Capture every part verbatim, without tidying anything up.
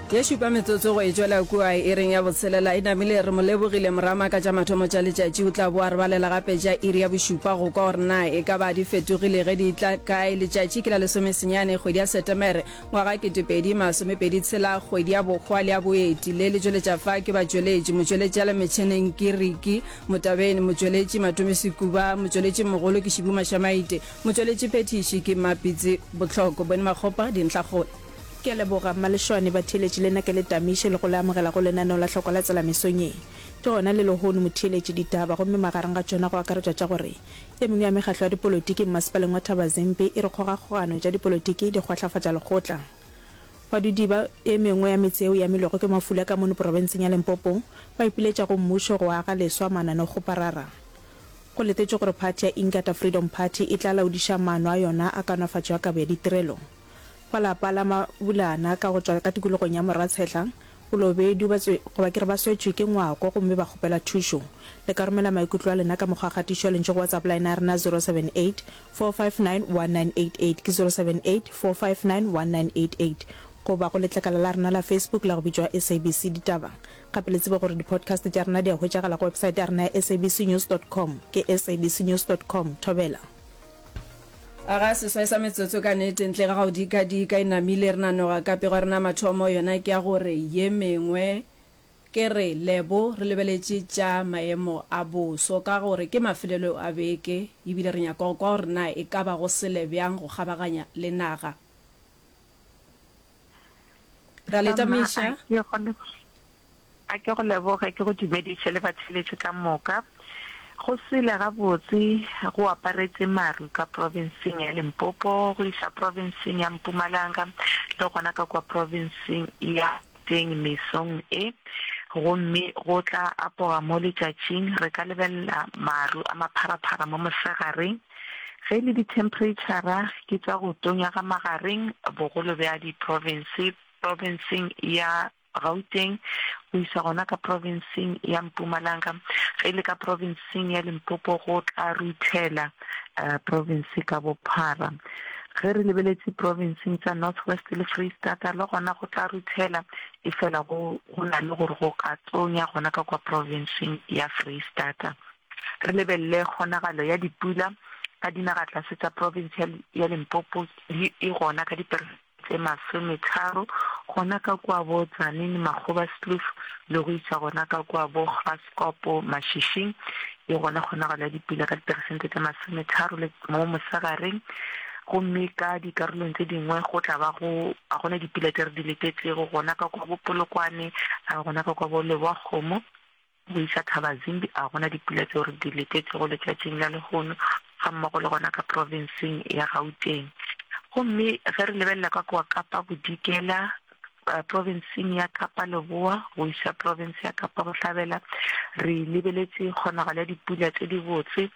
Ye šupa metsotso go e tšwela kua iring ya botshelela e namile. Re mo lebogile Morama ka tša mathomo tša letšatši. O tla boa re balela gape tša iri ya bošupa go kwa gore na e ka ba di fetogile ge di tla kae. Letšatši ke la lesomesenyane kgwedi ya Setemere ngwaga ketepedi masomepedi tshela, kgwedi ya bohwa le ya boeti. Le le tšweletša fa ke batšweletši. Motšweletši a le metšheneng ke Riki Motabeni, motšweletši Matome Sekuba, motšweletši mogolo ke Šibu Mašamaite, motšweletši phethiši ke Mapitsi Botlhoko. Bone Makgopa, dintlhakgolo. Ke a leboga Mmalešwane, batheeletši le nna ke le tamiše le go le amogela go lenaneo la Hlokwa la Tsela mesong ye. Ke gona le lehono motheeletši ditaba gomme magareng ga tšona go akaretšwa tša gore e mengwe ya mekgatlo ya dipolotiki mmasepaleng wa Thabazimbi e re kgogakgogano tša dipolotiki di kgwahlafatša lekgotla. Badudi ba e mengwe ya metse yeo e amilwego ke mafula ka mono profenseng ya Limpopo ba ipiletša go mmušo go aga leswa mananekgoparara. Go letetšwe gore phathi ya Inkatha Freedom Party e tla laodiša maano a yona a kaonafatšo ya kabo ya ditirelo. Ba lapa la Mabulana ka go tšwa ka tikologong ya Moratshehla, Bolobedu ba tswe, goba ke re ba swetšwe ke ngwako gomme ba kgopela thušo. Le ka romela maikutlo a lena ka mokgwa wa kgatišo ya lentšu go WhatsApp line ya rena zero seven eight, four five nine, one nine eight eight, ke zero seven eight, four five nine, one nine eight eight, goba go letlakala la rena la Facebook la go bitšwa S A B C Ditaba. Gape le tsebe gore di-podcast tša rena di a hwetšagala go website ya rena ya S A B C news dot com, ke S A B C news dot com. Thobela. A ga seswai sa metsotso ka nete ntle ga go dikadika e namile re nanoga ka pego ya rena mathomo yona ke ya gore ye mengwe ke re lebo re lebeletše tša maemo a boso ka gore ke mafelelo a beke ebile re nyaka go kwa gore na e ka ba go sele bjang go kgabaganya le naga. Ra le Mma, a tamiša. ke go a ke go leboge, ke go dumediše le batheeletši ka moka. Go sele gabotse go aparetše maru ka profenseng ya Limpopo go iša profenseng ya Mpumalanga le gona ka kua profenseng ya Gauteng mesong e, gomme go tla apoga mo letšatšing. Re ka lebelela maru a mapharaphara mo mosegareng. Ge e le dithemphereitšhara ke tša go tonya ga magareng bogolo bja diprofense profenseng ya Gauteng go isa gona ka profenseng ya Mpumalanga. Ge e le ka profenseng ya Limpopo go tla ruthela profense ka bophara. Ge re lebeletše profenseng tša North West le Freistata le gona go tla ruthela, efela go go na le gore go ka tonya gona ka kwa profenseng ya Freistata. Re lebelele kgonagalo ya dipula ka dinagatlase tša profense ya ya Limpopo di e gona ka diperesente tše masometharo gona ka kua bo Tzaneen, Makgobaskloof le go iša gona ka kua bo Graskop, Mashishing. E gona kgonagalo ya dipula ka diperesente tše masometharo le mo mosegareng, gomme ka dikarolong tše dingwe go tla ba go a gona dipula tše re di letetšego gona ka kua bo Polokwane, a gona ka kua bo Lebowakgomo go iša Thabazimbi, a gona dipula tšeo re di letetšego letšatšing la lehono gammogo le gona ka profenseng ya Gauteng. Gomme ge re lebelela ka kua Kapa Bodikela, profenseng ya Kapa Leboa go iša profense ya Kapa Bohlabela, re lebeletše kgonagalo ya dipula tše dibotse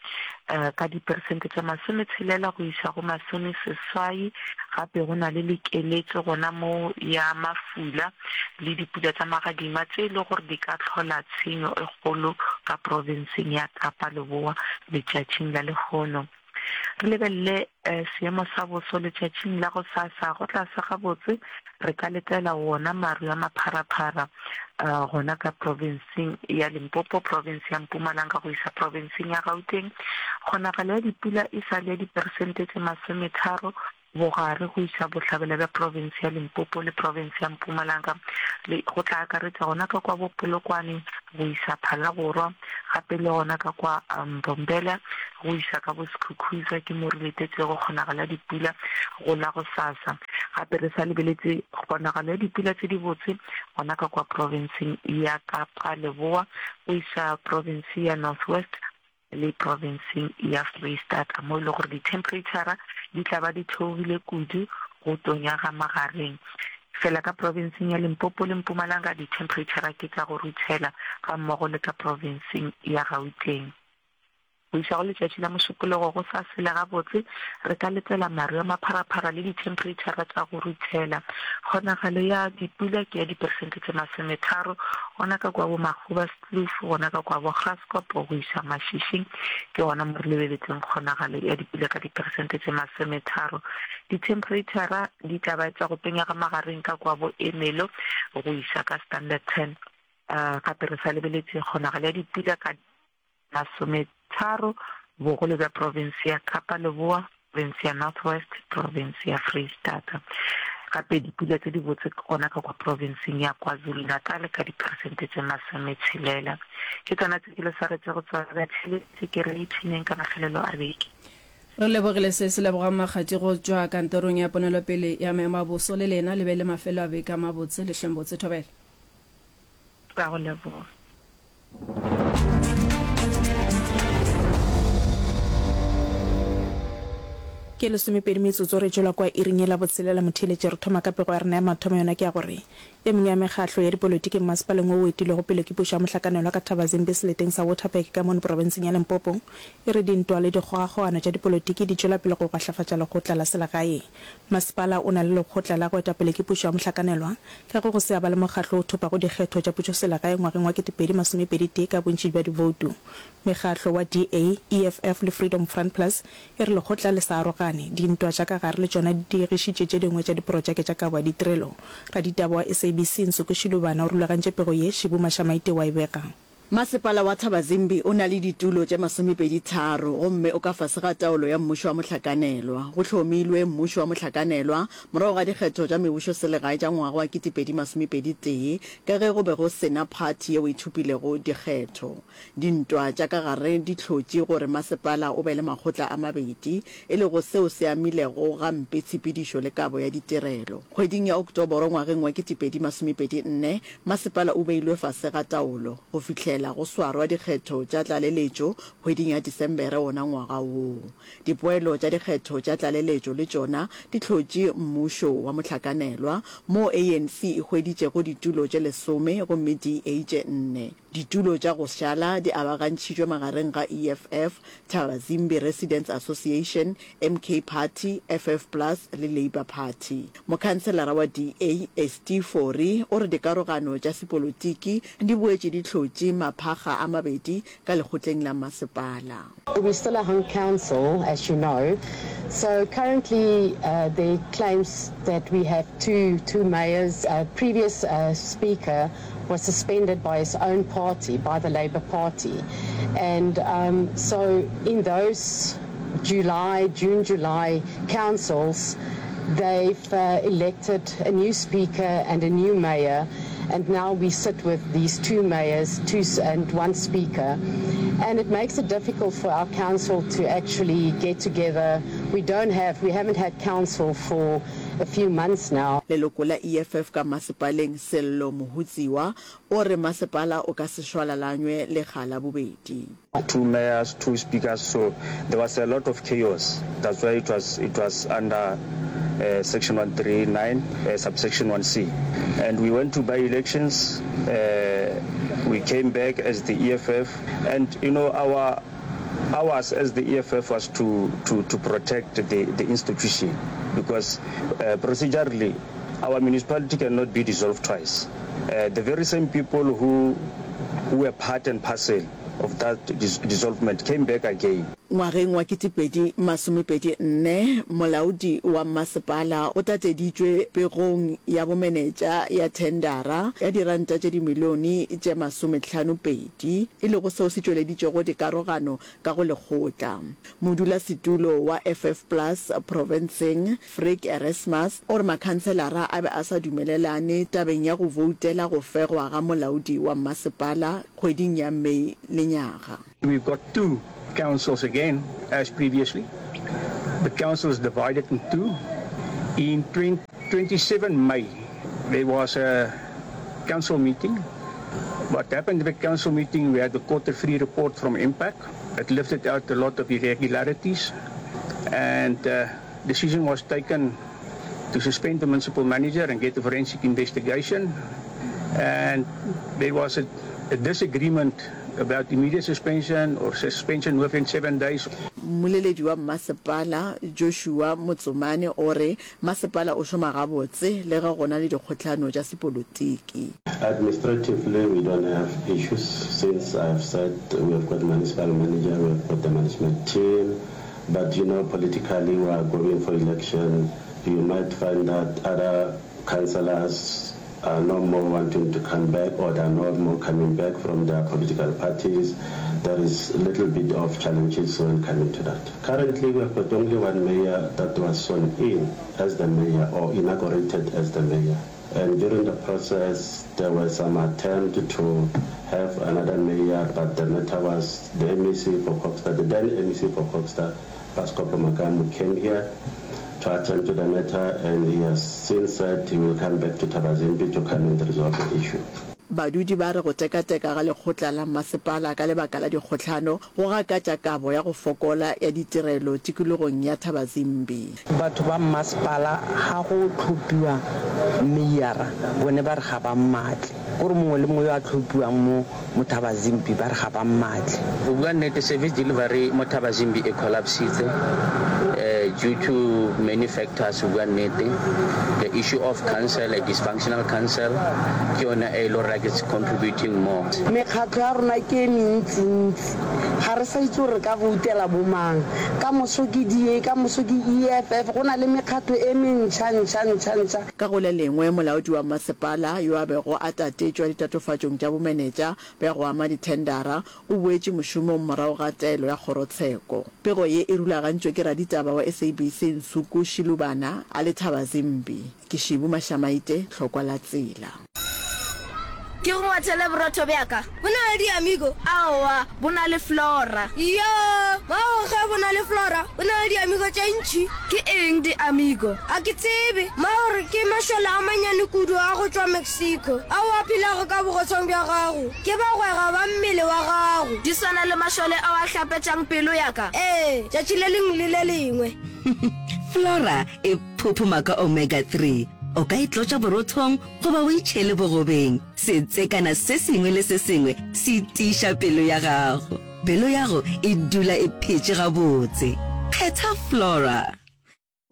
ka diperesente tše masometshelela go iša go masomeseswai. Gape go na le lekeletšo gona mo ya mafula le dipula tša magadima tše e le gore di ka hlola tshenyo e kgolo ka profenseng ya Kapa Leboa letšatšing la lehono. Re lebelele seemo sa boso letšatšing la gosasa. Go tla sa gabotse re ka letela wona maru a mapharaphara gona ka profenseng ya Limpopo, profense ya Mpumalanga go iša profenseng ya Gauteng. Kgonagalo ya dipula e sa le ya diperesente tše masometharo bogare go iša bohlabela bja profense ya Limpopo le profense ya Mpumalanga, le go tla akaretša gona ka kwa bo Polokwane go iša Phalaborwa, gape le gona ka kwa Mbombela go iša ka bo Skukuza, ke mo re letetšego kgonagalo ya dipula go la gosasa. Gape re sa lebeletše kgonagalo ya dipula tše dibotse gona ka kwa profenseng ya Kapa Leboa go iša profense ya North West le profenseng ya Freistata, mo e lego gore dithemphereitšhara di tla ba di theogile kudu go tonya ga magareng. Fela ka profenseng ya Limpopo le Mpumalanga dithemphereitšhara ke tša go ruthela, gammogo le ka profenseng ya Gauteng. Go iša go letšatši la Mošupologo go sa sele gabotse, re ka letela maru a mapharaphara le dithemphereitšhara tša go ruthela. Kgonagalo ya dipula ke ya diperesente tše masometharo gona ka kua bo Magoebaskloof, gona ka kua bo Graskop go iša Mashishing ke gona mo re lebeletšeng kgonagalo ya dipula ka diperesente tše masometharo. Dithemphereitšhara di tla ba tša go tonya ga magareng ka kua bo Ermelo go iša ka Standerton. Gape re sa lebeletše kgonagalo ya dipula ka. Masometharo, bogolo bja profense ya Kapa Leboa, profense ya North West, profense ya Freistata. Gape dipula tše dibotse ke gona ka kwa profenseng ya KwaZulu-Natal ka diperesente tše masometshelela. Ke tšona tše ke le swaretšego tšona batheeletši, ke re ipshineng ka mafelelo a beke. Re lebogile se se lebogang Makgati go tšwa kantorong ya ponelopele ya maemo a boso le lena le be le mafelo a beke a mabotse le hleng botse thobela. Re a go leboga. Ke lesomepedi metsotso re tšwela kwa iring ye la botshelela motheeletši re thoma ka pego ya rena ya mathomo yona ke ya gore e mengwe ya mekgahlo ya dipolotiki mmasepaleng wo o etilwego pele ke pušo ya mohlakanelwa ka Thabazimbi seleteng sa Waterberg ka mono profenseng ya Limpopo e re dintwa le dikgogakgogano tša dipolotiki di tšwela pele go gwahlafatša lekgotla la selegae Masepala o na le lekgotla la go eta pele ke pušo ya mohlakanelwa ka ge go se a ba le mokgahlo o thopago dikgetho tša pušoselegae ngwageng wa kete pedi masome pedi tee ka bontši bja divoutu. Mekgahlo wa D A, E F F le Freedom Front Plus e re lekgotla le sa arogane. Dintwa tša ka gare le tšona di diegišitše tše dingwe tša diprotšeke tša kabo ya ditirelo. Raditaba wa S A B C Nsuku Shilubana o rulagantše pego ye, Shibu Mashamaite wa e bega. Masepala wa Thabazimbi o na le ditulo tše masomepedi tharo gomme o ka fase ga taolo ya mmušo wa mohlakanelwa. Go hlomilwe mmušo wa mohlakanelwa morago ga dikgetho tša mebušoselegae tša ngwaga wa ketepedi masomepedi tee ka ge go be go se na phathi yeo e thopilego dikgetho. Dintwa tša ka gare di hlotše gore masepala o be le makgotla a mabedi, e lego seo se amilego gampe tshepedišo le kabo ya ditirelo. Kgweding ya Oktoboro ngwageng wa ketepedi masomepedi nne, masepala o beilwe fase ga taolo go fihlela go swarwa dikgetho tša tlaleletšo kgweding ya Disembere wona ngwaga woo. Dipoelo tša dikgetho tša tlaleletšo le tšona di hlotše mmušo wa mohlakanelwa, moo A N C e hweditšego ditulo tše lesome gomme D A tše nne. Ditulo tša go šala di abagantšhitšwe magareng ga E F F, Thabazimbi Residents Association, M K Party, F F Plus le Labour Party. Mokhanselara wa D A, Estie Fourie, o re dikarogano tša sepolotiki di boetše di hlotše maphakga a mabedi ka lekgotleng la masepala. We're still a hung council, as you know, so currently there claims that we have two two mayors. Previous speaker was suspended by his own party, by the Labour Party, and um, so in those July, June, July councils, they've uh, elected a new speaker and a new mayor, and now we sit with these two mayors, two and one speaker, and it makes it difficult for our council to actually get together. We don't have, we haven't had council for a few months now. Leloko la E F F ka masepaleng Sello Mohutsiwa o re masepala o ka se šwalalanywe lekga la bobedi. Two mayors, two speakers, so there was a lot of chaos, that's why it was it was under uh, section one three nine uh, subsection one C, and we went to by elections, uh, we came back as the E F F, and you know our ours as the E F F was to to to protect the the institution because uh, procedurally our municipality cannot be dissolved twice. Uh, the very same people who who were part and parcel of that dis dissolvement came back again. Ngwageng wa ketepedi masomepedi nne, molaodi wa mmasepala o tateditšwe pegong ya bomenetša ya thendara ya diranta tše dimilione tše masomehlano pedi, e lego seo se tšweleditšego dikarogano ka go lekgotla. Modulasetulo wa F F Plus profenseng, Frik Erasmus, o re makhanselara a be a sa dumelelane tabeng ya go voutela go fegwa ga molaodi wa mmasepala kgweding ya May lenyaga. We've got two councils again as previously. The council is divided in two. In twenty-seven May, there was a council meeting. What happened at the council meeting, we had the quarter three report from IMPAC. It lifted out a lot of irregularities, and uh, decision was taken to suspend the municipal manager and get a forensic investigation. And there was a, a disagreement about immediate suspension or suspension within seven days. Mmoleledi wa mmasepala, Joshua Motsomane o re masepala o šoma gabotse le ge go na le dikgohlano tša sepolotiki. Administratively we don't have issues since I have said we have got municipal manager, we have got the management team, but you know politically we are going for election, you might find that other councillors are no more wanting to come back or they are no more coming back from their political parties. There is a little bit of challenges when coming to that. Currently we have got only one mayor that was sworn in as the mayor or inaugurated as the mayor. And during the process there was some attempt to have another mayor, but the matter was the M E C for Kokstad, the then M E C for Kokstad, Pascoe Makamu, came here to attend to the matter, and he has since said he will come back to Thabazimbi to come and resolve the issue. Badudi ba re go tekateka ga lekgotla la mmasepala ka lebaka la dikgohlano go gakatša kabo ya go fokola ya ditirelo tikologong ya Thabazimbi. Batho ba mmasepala ga go tlhophiwa meyara bone ba re ga ba mmatle, kore mongwe le mongwe yo a tlhophiwang mo mo Thabazimbi ba re ga ba mmatle. Go bua nnete, service delivery mo Thabazimbi e collapsitse, eh, due to many factors. Go bua nnete, the issue of council, a dysfunctional council, ke yone e le gore like it's contributing more. Mekgatlho ya rona ke e mentsintsi, ga re sa itse gore re ka voutela bo mang. Ka moso ke D A, ka moso ke E F F, go na le mekgatlho e mentšha, ntšha, ntšha, ntšha. Ka go le lengwe, molaodi wa masepala yo a bego a tatetšwa ditatofatšong tša bomenetša bja go ama dithendara o boetše mošomong morago ga taelo ya kgorotsheko. Pego ye e rulagantšwe ke raditaba wa S A B C Nsuku Shilubana a le Thabazimbi. Ke Šibu Mašamaite, Tlhokwa la Tsela. Ke go ngwathele borotho bja ka. Bo na le di-amigo? Aowa, bo na le Flora. Iyoo, bao ge bo na le Flora, bo na le di-amigo tše ntši. Ke eng di-amigo? A ke tsebe. Mao re ke mašole a manyane kudu a go tšwa Mexico ao a phelago ka bogosong bja gago. Ke bagwera ba mmele wa gago. Di swana le mašole ao a hlapetšang pelo ya ka? Ee, tšatši le lengwe le le lengwe. Flora e phophoma ka omega three. O ka e tlotša borothong goba o e tšhele bogobeng. Setsekana se sengwe le se sengwe se tiiša pelo ya gago. Pelo yago e dula e phetše gabotse. Kgetha Flora.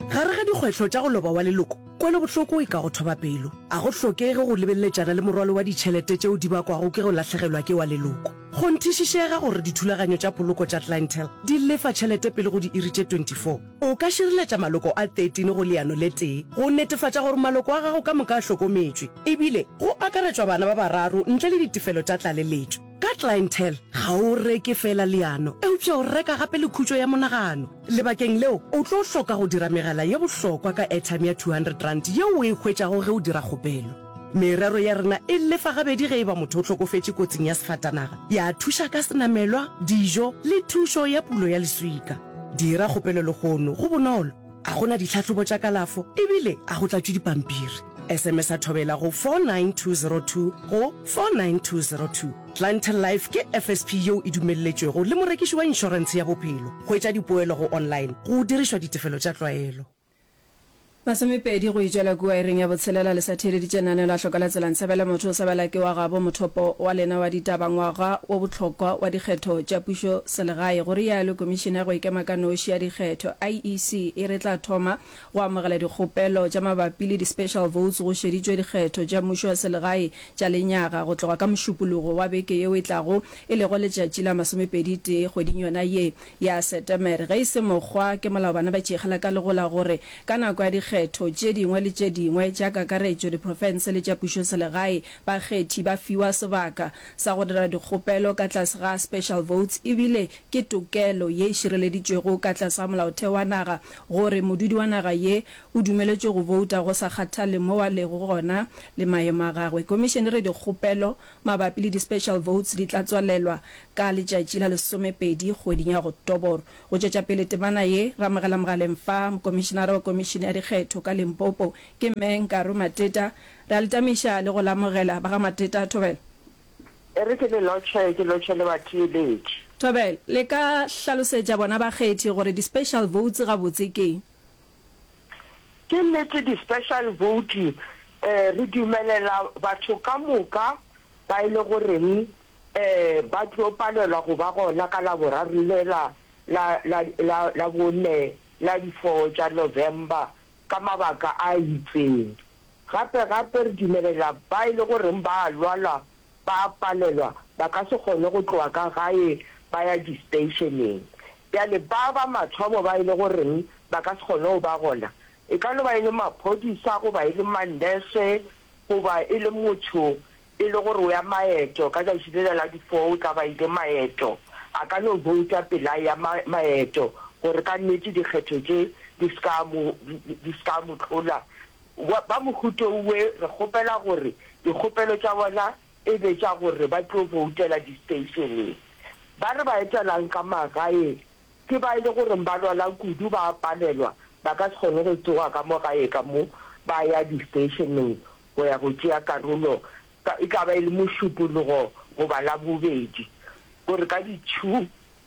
Gare ga dikgwetlho tša go loba wa leloko, kwelobohloko e ka go thoba pelo. A go hlokege go lebeletšana le morwalo wa ditšhelete tšeo di bakwago ke go lahlegelwa ke wa leloko. Kgonthišišega gore dithulaganyo tša poloko tša Clientele di lefa tšhelete pele go diiri tše twenty-four. O ka šireletša maloko a thirteen go leano le tee go netefatša gore maloko a gago ka moka a hlokometšwe, ebile go akaretšwa bana ba bararo ntle le ditefelo tša tlaleletšo. Ka Clientele, ga o reke feela leano, eupša o reka gape le khutšo ya monagano. Lebakeng leo, o tlo hloka go dira megala ye bohlokwa ka airtime ya two hundred rand yeo o e hwetšago ge o dira kgopelo. Merero ya rena e lefa gabedi ge e ba motho o hlokofetše kotsing ya sefatanaga, ya thuša ka senamelwa, dijo le thušo ya pulo ya leswika. Dira kgopelo lehono, go bonolo, a go na ditlhahlobo tša kalafo ebile a go tlatšwe dipampiri. S M S a thobela go four nine two zero two go four nine two zero two. Clientele Life ke F S P yeo e dumelletšwego le morekiši wa inšorentshe ya bophelo. Hwetša dipoelo go online go dirišwa ditefelo tša tlwaelo. Masomepedi go itšwela kua iring ya botshelela le sa theeleditše lenaneo la Hloka la Tsela Ntshebele motho o sebela ke wa gabo mothopo wa lena wa ditaba ngwaga wo bohlokwa wa dikgetho tša pušo selegae go rialo Komišene ya go ikema ka noši ya dikgetho I E C e re tla thoma go amogela dikgopelo tša mabapi le di-special votes go šeditšwe dikgetho tša mmušo wa selegae tša lenyaga go tloga ka Mošupologo wa beke yeo e tlago e lego letšatši la masomepedi tee kgweding yona ye ya Setemere. Ge e se mokgwa ke molao bana ba tšeegela ka legola gore ka nako ya dikgetho tše dingwe le tše dingwe tša kakaretšo diprofense le tša pušoselegae bakgethi ba fiwa sebaka sa go dira dikgopelo ka tlase ga special votes ebile ke tokelo ye e šireleditšwego ka tlase ga molaotheo wa naga gore modudi wa naga ye o dumeletšwe go bouta go sa kgathale mo a lego gona le maemo a gagwe. Komišene re dikgopelo mabapi le di-special votes di tla tswalelwa ka letšatši la lesomepedi kgweding ya Oktoboro. Go tšwetša pele temana ye, re amogela mogaleng fa mokomišenara wa Komišene ya Dikgetho ka Limpopo ke Mme Nkaro Mateta. Re a le tamiša le go le amogela ba ga Mateta. Thobela. E re ke le lotšhe, ke lotšhe le batheeletši. Thobela, le ka hlalosetša bona bakgethi gore di-special votes gabotse ke eng? Ke nnete di-special vote eh, re dumelela batho ka moka ba e le goreng um ba tlo palelwa go ba gona ka Laboraro lela la, la, la, la bone la di four tša November ka mabaka a itseng. Gape, gape re dumelela ba e le goreng ba a lwala ba a palelwa, ba ka se kgone go tloga ka gae ba ya di-stationeng. Bjale ba ba mathomo ba e le goreng ba ka se kgone go ba gona, e ka no ba e le maphodisa goba e le manese goba e le motho e le gore o ya maeto, ka tšatši lela la di four o tla ba ile maeto, a ka no bouta pele a eya maeto gore ka nnete dikgetho tše di se ka mo, di se ka mo tlola. Ba mohuto we re kgopela gore dikgopelo tša bona e be tša gore ba tlo boutela di-stationeng. Ba re ba etelang ka magae ke ba e le goreng ba lwala kudu, ba a palelwa, ba ka se kgone go tsoga ka mo gae ka mo ba ya di-stationeng go ya go tšea karolo, ka, e ka ba e le Mošupologo goba Labobedi, gore ka di-two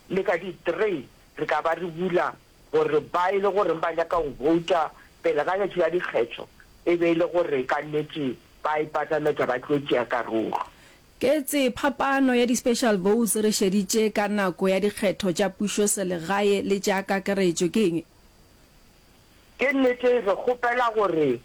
le ka di-three re ka ba re bula gore ba e le goreng ba nyaka go bouta pele ga letšatši la dikgetho e be e le gore ka nnete ba ipatametša ba tlo tšea karolo. Ketse phapano ya di-special votes re šeditše ka nako ya dikgetho tša pušoselegae le tša kakaretšo ke eng? Ke nnete re kgopela gore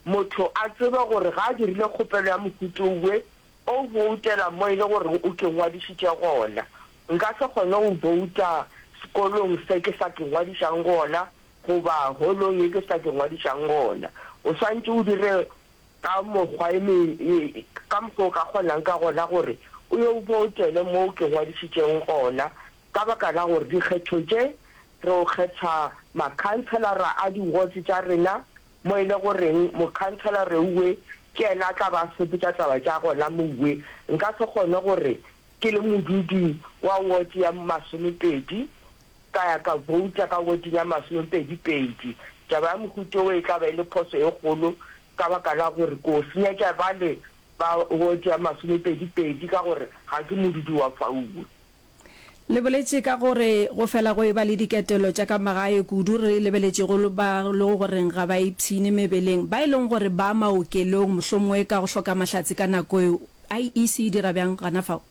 motho a tsebe gore ga a dirile kgopelo ya mohuta owe o boutela mo e le goreng o ke ngwadišitše gona. Nka se kgone go bouta sekolong se ke sa ke ngwadišang gona goba holong ye ke sa ke ngwadišang gona. O swantše o dire ka mokgwa e me, ka mokgwa o ka kgonang ka gona gore o yo boutele mo ke ngwadišitšeng gona, ka baka la gore dikgetho tše re o kgetha makhanselara a di-wards tša rena, mo e le goreng mokhanselara uwe ke yena a tla ba a sepetša taba tša gona mouwe. Nka se kgone gore ke le modudi wa ward ya masomepedi ka ya ka bouta ka warding ya masomepedi-pedi. Taba ya mohuta wo e tla ba e le phoso e kgolo ka baka la gore ko senyetša bale ba ward ya masomepedi-pedi ka gore ga ke modudi wa fauwe. Le boletše ka gore go fela go eba le diketelo tša ka magae kudu re lebeletšego ba lego goreng ga ba ipshine mebeleng, ba e leng gore ba maokelong mohlomongwe ka go hloka mahlatse ka nako eo. I E C e dira bjang gana fao?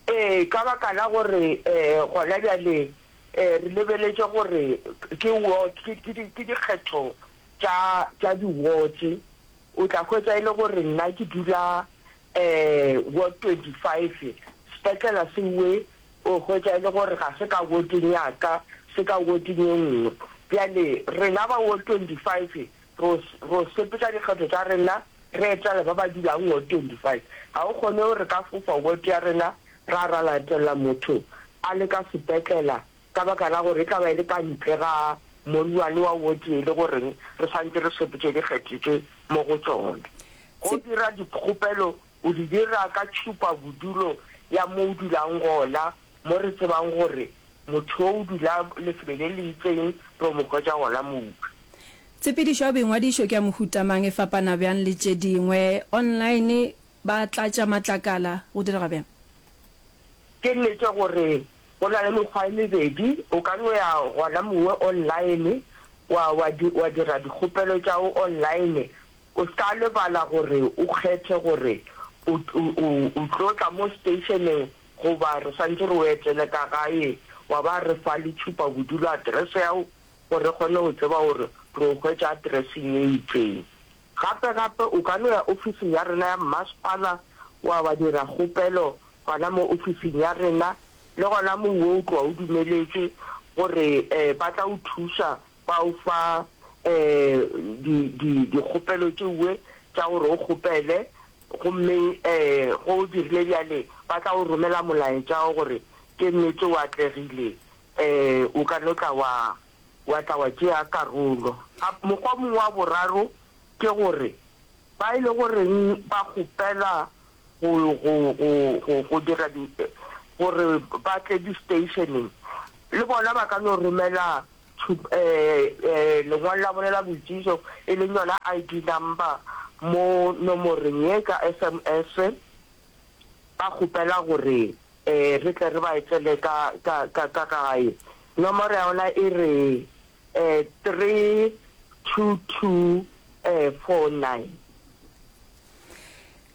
Ee, ka baka la gore gona bjale re lebeletše gore ke ward, ke, ke, ke dikgetho tša, tša di-wards. O tla hwetša e le gore nna ke dula ward twenty-five, sepetlela seuwe o hwetša e le gore ga se ka wardeng ya ka, se ka wardeng ye nngwe. Bjale rena ba ward twenty-five ro, ro sepetša dikgetho tša rena re etela ba ba dulang ward twenty-five. Ga o kgone gore re ka fofa ward ya rena ra ra latela motho a le ka sepetlela ka baka la gore e tla ba e le ka ntle ga mollwane wa ward e le goreng re santše re sepetše dikgetho tše mo go tšona. Go dira dikgopelo o di dira ka tšhupa bodulo ya mo o dulang gona, mo re tsebang gore motho o dula lefelo le le itseng, re o mo hwetša gona moo. Tshepedišo ya boingwadišo ke ya mohuta mang, e fapana bjang le tše dingwe? Online ba tlatša matlakala, go direga bjang? Ke nnete gore go na le mekgwa e mebedi, o ka no ya gona mowe online wa, wa, wa dira dikgopelo tša go online. O se ka lebala gore o kgethe gore o, o, o, o tlo tla mo stationeng goba re swanetše re o etele ka gae, wa ba re fa le tšhupa bodulo address ya gago gore re kgone go tseba gore re o hwetša addresseng ye itseng. Gape gape o ka no ya ofising ya rena ya mmasepala wa wa dira kgopelo gona mo ofising ya rena, le gona mo wo o tloga o dumeletšwe gore um ba tla o thuša ba o fa um di, di, dikgopelo tšeue tša gore o kgopele, gomme um ge o dirile bjale ba tla o romela molaetša wa gore ke nnete o atlegile, um o ka no tla wa, wa tla wa tšea karolo. Mokgwa mongwe wa boraro ke gore ba e le goreng ba kgopela go, go, go, go, go dira di, gore ba tle di-stationeng, le bona ba ka no romela lengwalo la bona la boitsebišo e leng yona I D number mo nomoreng ye ka S M S, ba kgopela gore re tle re ba etele ka, ka, ka, ka gae. Nomoro ya bona e re three two two four nine.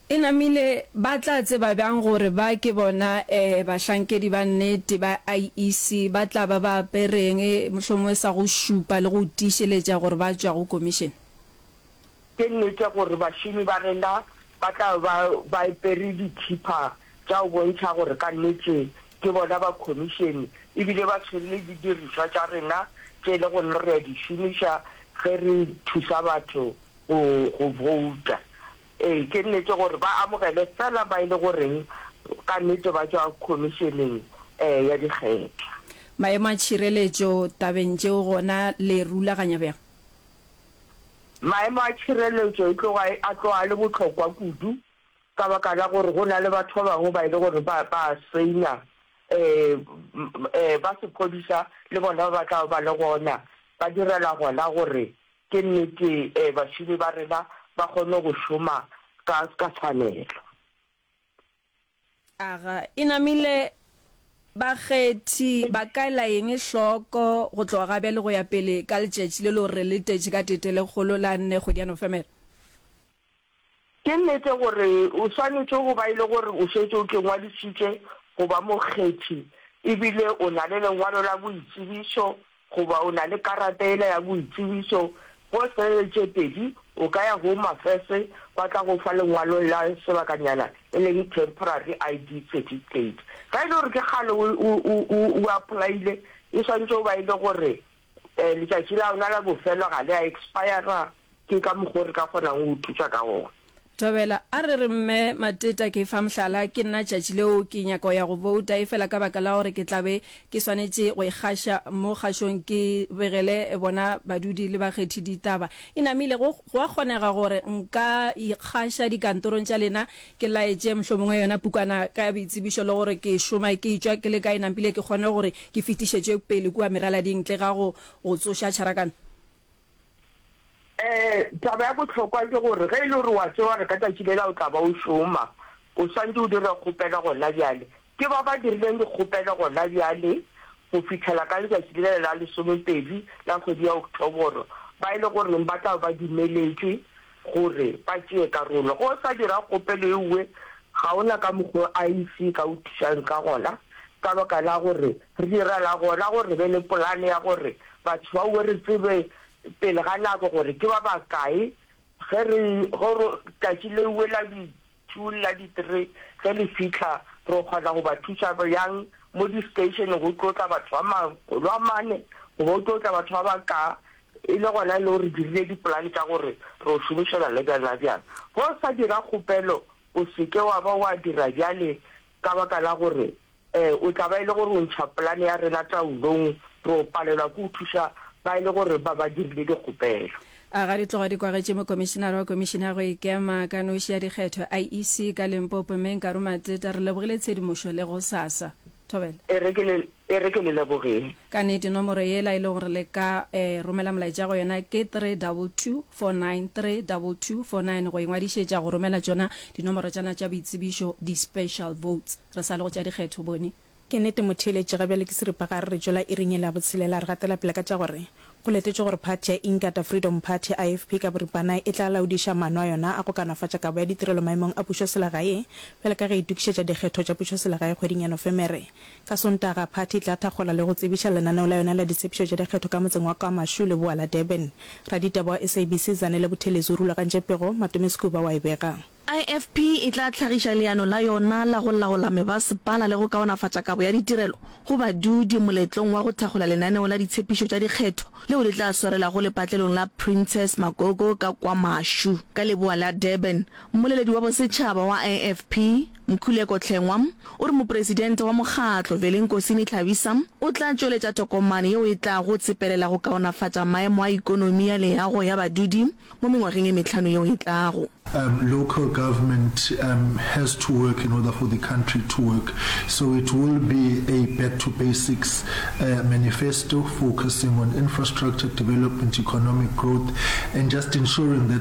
E namile ba tla tseba bjang gore ba ke bona bahlankedi ba nnete ba IEC? Ba tla ba ba apereng, mohlomongwe sa go šupa le go tiišeletša gore ba tšwa go komišene? Ke nnete gore bašomi ba rena ba tla ba ba apere dithipa tša go bontšha gore ka nnete ke bona ba khomišene e bile ba tshwere le didirišwa tša rena tše e le gore re a di šomiša ge re thusa batho go go bouta. Ee, ke nnete gore ba amogele fela ba e le goreng ka nnete ba tšwa khomišeneng ya dikgetho. Maemo a tšhireletšo tabeng tšeo gona le rulaganya bjang? Maemo a tšhireletšo e tloga a tloga a le bohlokwa kudu ka baka la gore go na le batho ba bangwe ba e le gore ba ba a senya um ba sephodisa le bona ba tla ba le gona ba direla gona gore ke nnete um bašomi ba rena ba kgone go šoma ka ka tshwanelo. Aga, e namile bakgethi ba ka ela eng hloko go tloga ga bjale go ya pele ka letšatši le le gore re letetše ka tetelekgolo la nne kgwedi ya Nofemere? Ke nnete gore o swanetše go ba e le gore o šetše o kengwadišitše go ba mokgethi e bile o na le lengwalo la boitsebišo goba o na le karata yela ya boitsebišo. Go se le tše pedi, o ka ya Home Affairs ba tla go fa lengwalo la sebakanyana e leng temporary I D certificate. Ge e le gore ke kgale o, o, o, o, o apply-ile, e swanetše go ba e le gore letšatši la yona la bofelo ga le a expire-ra. Ke ka mokgo re ka kgonago go thuša ka gona. Thobela, A re re Mme Mateta ke fa mohlala, ke nna tšatši leo ke nyaka go ya go bouta efela ka baka la gore ke tla be ke swanetše go ikgaša mo kgašong ke begele bona badudi le bakgethi ditaba. E namile go go a kgonega gore nka ikgaša dikantorong tša lena ke laetše mohlomongwe yona pukwana ka ya boitsebišo le gore ke šoma ke etšwa ke le kae nampile ke kgone gore ke fetišetše pele kua meralading ntle ga go go tsoša tšharakano. Um taba ya bohlokwa ke gore ge e le gore wa tseba gore ka tšatši lela o tla ba o šoma, o swanetše o dire kgopelo gona bjale. Ke ba ba dirileng dikgopelo gona bjale go fihlela ka letšatši lela la lesomepedi la kgwedi ya Oktoboro, ba e le goreng ba tla ba ba dumeletšwe gore ba tšee karolo. Ge o sa dira kgopelo eue, ga o na ka mokgo I E C e ka o thušang ka gona, ka baka la gore re direla gona gore re be le polane ya gore batho baue re tsebe pele ga nako gore ke ba bakae ge re, ge re, tšatši leuwe la di two le la di three ge le fihla, re kgona go ba thuša bjang mo di station go tlo tla batho ba makgolo a mane goba go tlo tla batho ba bakaa, e le gona e le gore re dirile dipolane tša gore re o šomišana le bjang la bjang. Ge o sa dira kgopelo o se ke wa ba wa dira bjale ka baka la gore o tla ba e le gore o ntšha polane ya rena taolong, re o palelwa ke go thuša ba e le gore ba ba dirile dikgopelo. A ga di tloga di kwagetše Mokomišenare wa Komišene ya go Ikema ka Noši ya Dikgetho, I E C, ka Limpopo, Mme Nkaru Mateta, re lebogile tshedimošo le gosasa. Thobela. E re ke le, e re ke le lebogeng. Ka nnete, nomoro yela e lego gore le ka romela molaetša go yona ke three double two four nine, three double two four nine, go ingwadišetša go romela tšona dinomoro tšana tša boitsebišo, di-special votes. Re sa le go tša dikgetho, Boni. Ke nnete motheeletši, ga bjale ke seripagare re tšwela iring yela ya botshelela, re gatela pele ka tša gore go letetšwe gore phathi ya Inkatha Freedom Party, I F P ka boripana, e tla laodiša maano a yona a go kaonafatša kabo ya ditirelo maemong a pušoselegae bjale ka ge e itokišetša dikgetho tša pušoselegae kgweding ya Nofemere. Ka Sontaga, phathi e tla thakgola le go tsebiša lenaneo la yona la ditshepišo tša dikgetho ka motseng wa KwaMashu, leboa la Durban. Raditaba wa S A B C Zanele Buthelezi o rulagantše pego, Matome Sekuba wa e bega. I F P e tla hlagiša leano la yona la go laola mebasepala le go kaonafatša kabo ya ditirelo go badudi moletlong wa go thakgola lenaneo la ditshepišo tša dikgetho leo le tla swarelago lepatlelong la Princess Magogo ka KwaMashu, ka leboa la Durban. Mmoleledi wa bosetšhaba wa I F P, Mkhuleko Hlengwa, o re mopresidente wa mokgatlo, Velenkosini Hlabisa, o tla tšweletša tokomane yeo e tlago tsepelela go kaonafatša maemo a ikonomi ya leago ya badudi mo mengwageng e mehlano yeo e tlago. Um, local government um, has to work in order for the country to work. So it will be a back to basics uh, manifesto focusing on infrastructure development, economic growth, and just ensuring that